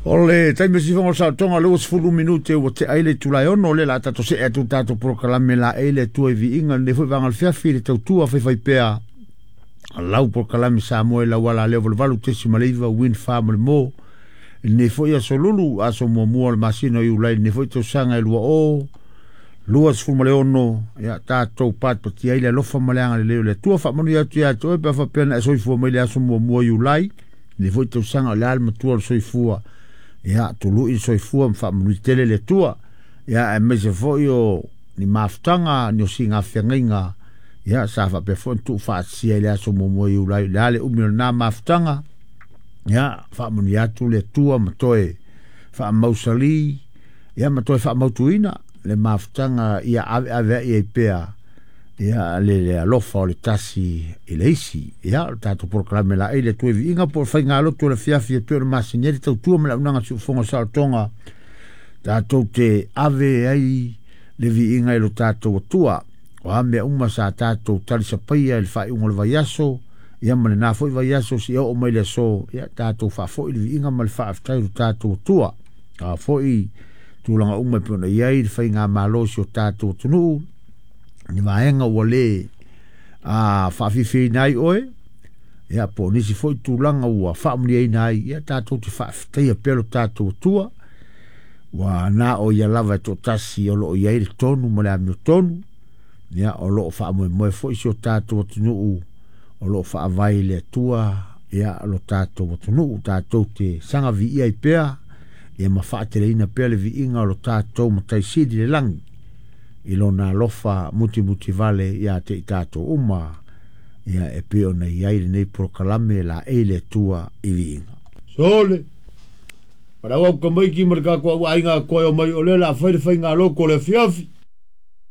O le taimi o sifoga o le saolotoga 20 minute ua tea ai le itula e 6, o lea o le a tatou see atu i le tatou polokalame laei le Atua i viiga i lenei foi vaega o le fiafi i le tautua faifaipea a lau polokalame Samoa i lau ala leo 88.9 Win Fa ma le Mo i lenei foi aso Lulu, aso muamua o le masina o Iulai i lenei foi tausaga e 2026. Ia tatou patipatia ai le alofa ma le agalelei o le Atua. Faamanuia atu ia te oe pe a faapea na e soifua mai le aso muamua o Iulai lenei foi tausaga. O le a le matua o le soifua, ia tului le soifua ma faamanui tele le Atua, ia aemaise foi o ni mafutaga, ni osiga feagaiga, ia sa faapea foi ona tuufaatasia i le aso muamua o Iulai. O le a le umi o lena mafutaga, ia faamanuia atu le Atua ma toe faamausali, ia ma toe faamautuina le mafutaga, ia aveaveai ai pea ia le alofa o le tasi i le isi. Ia o le tatou polokalame laei le Atua i viiga po o le faigalotu o le afiafi e pei ona masani ai le tautua ma le auaunaga a siufofoga o saolotoga, tatou te ave ai le viiga i lo tatou Atua. O a mea uma sa tatou talisapaia i le faaiuga o le vaiaso, ia ma lena foi vaiaso seia oo mai le aso, ia tatou faafoi le viiga ma le faafetai i lo tatou Atua. A foi tulaga uma e pei ona i ai le faigamalo o si o tatou atunuu, ni vaega ua le faafiafiaina ai oe, ia po o nisi foi tulaga ua faamanuiaina ai, ia tatou te faafetaia pea lo tatou Atua. Ua na o ia lava e toatasi o lo o i ai le tonu ma le amiotonu, ia o lo o faamoemoe foi si o tatou atunuu, o lo o faavae i le Atua ia lo tatou atunuu. Tatou te saga viia ai pea, ia ma faateleina pea le viiga o lo tatou Matai Sili i le lagi i lona alofa mutimutivale ia te i tatou uma, ia e pei ona i ai lenei polokalame laei le Atua i viiga. Sole, palau au tamaiti ma le tatou au aiga toe o mai o lea o le a fai le faigalotu o le afiafi.